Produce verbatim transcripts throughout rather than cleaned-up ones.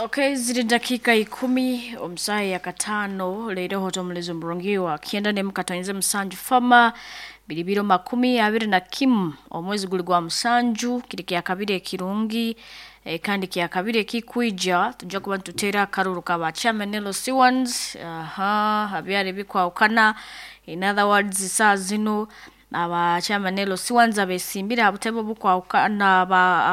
Okay, ziri dakika ikumi omusaha ya katano leero hoto omurungi wa kyenda nemu katonze musanju fama biri biro makumi abiri na kimu omwezi guli gwa musanju kiri kya kabiri ekirungi e, kandi kya kabiri ekikwija tujja kuba nituteera akaruru ka ba chairman L C ones. Aha abyari bikwawukana, in other words, saa zino aba chairman L C ones abesimbire aha butebe obukwawukana,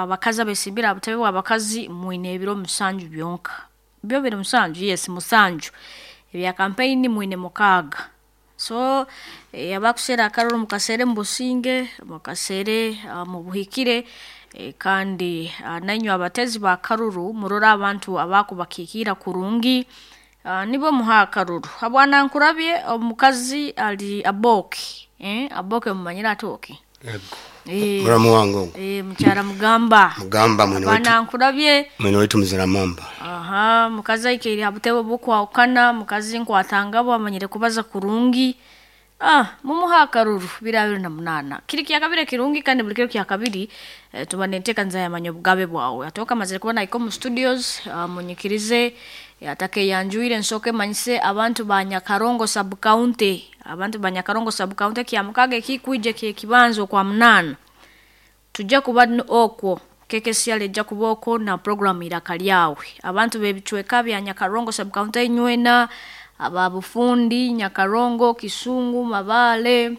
abakazi abesimbire aha butebe bw'abakazi, mwine ebiro musanju byonka, byo biri musanju, yes, musanju. Ebya campaign mwine mukaaga. So e, abakuseera akaruru mukaseere mu businge, mukaseere uh, mu buhikire, e, kandi uh, nainywe abatezi ba karuru murore abantu abakubakiikira kurungi, uh, nibo muha akaruru. Habwana nkurabye omukazi ali Aboke, eh, Aboke mumanyire atooke. Ego. Eh, muramu wange ogwo. Eh, mukyara mugamba. Mugamba mwene waitu. Bwana nkurabye. Mwene waitu muzira mamba. Aha, mukazi aikaire ha butebe bukwawukana, mukazi nkwatangabo amanyire kubaza kurungi. Ah, mumuha akaruru biri abiri na munana. Kiri kya kabiri kirungi, kandi buli kiro kya kabiri eh, tuba nenteeka nzayamanya obugabe bwawe. Atoka amazire kuba naiko mu studios, uh, munyikirize eh, atake yanjuire nsooke manyise abantu ba Nyakarongo sub county. Abantu ba Nyakarongo sub county, kya mukaga ekikwije kye kibanzo kwa munana. Tujja kuba n- okwo K K C R ejja kuba okwo na program Iraka Lyawe. Abantu b'ebicweka bya Nyakarongo sub county nywena, aba Bufundi, Nyakarongo, Kisungu, Mabale,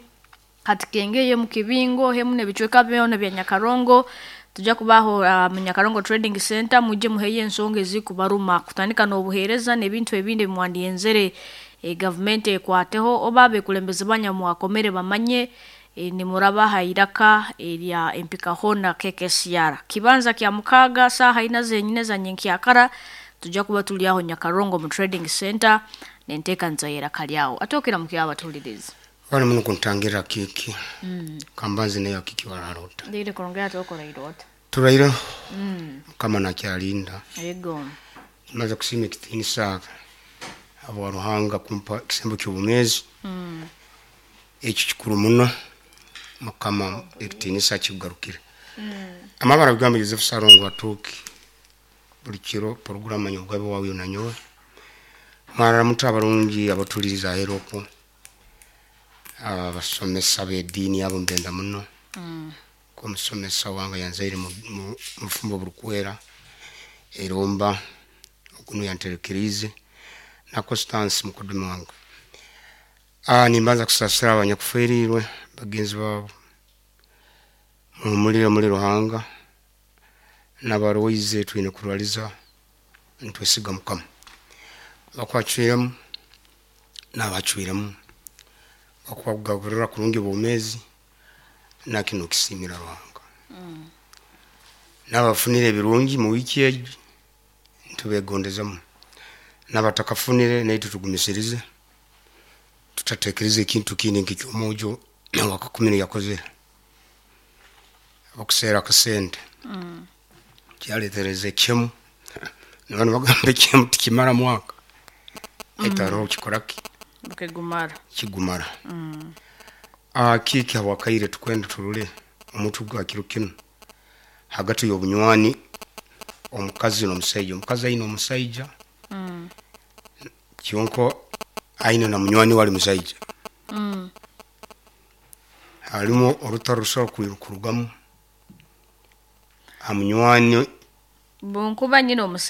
Katikengeye, mu Kibingo hemu n'ebicweka byona bya Nyakarongo, tujja kubaho uh, mu Nyakarongo Trading Center. Mujje muheyo ensonga ezikubaruma, kutandika n'obuheereza n'ebintu ebindi bimwandiyenzere e, gavumenti ekwateho oba abekulembeze banyamwakomere bamanye e, nimurabaha iraka erya empikahona K K C R. Kibanza kya mukaaga saaha ina zenyine za nyenkyakara tujja kuba tuli aho Nyakarongo mu trading center nenteekaniza y'Eraka Lyawo. Atookera mukyaba batuliriza. Bali muno kuntangira kiki kambanzi nayo kiki wararota. Ndire kurongera tokora irota. Turaira mukama nakyalinda. Ego. Maze kusiima ekitiinisa habwa Ruhanga kumpa ekisembo ky'obumezi, ekyo kikuru muno. Mukama ekitiinisa kikugarukire. Amabara bigambo Joseph Sarongo Atuuki, buli kiro poroguramu Manya Obugabe Bwawe nanyowe. Mwarara muto abarungi abatuliriza ahera okwo, abasomesa b'ediini abo mbenda muno, ko omusomesa wange yanzaire mu mu- mufumbo burukwera eromba okuno yanterekerize na Constance mukodome wange. Ah, nimbanza kusasira abanyakuferirwe bagenzi babo, muhumulire muri Ruhanga, n'abarwaize twine kurwaliza nitwesiga Mukama. Abakwacwiremu n'abacwiremu bakugaburira kurungi obwomezi, nakino kisimira Ruhanga. N'abafunire ebirungi mu wiiki egi ntubegondezemu, n'abatakafunire naitwe tugumisirize, tutatekereza ekintu kindi nk'ekyomujo wakakumire yakozere okuseera akasente kyaletereza ekyemu. Nibano bagamba ekyemu tikimara mwaka, baitu haroho kikoraki. Bukegumara. Kigumara. Ah, kiki habwakaire tukwenda turule omutu gwa kiro kinu hagati y'obunywani omukazi n'omusaija. Omukazi aine omusaija kyonko aine na munywani we ali musaija, harimu orutaro rusobora kurugamu ha munywani. Bunkuba nyine omusajja.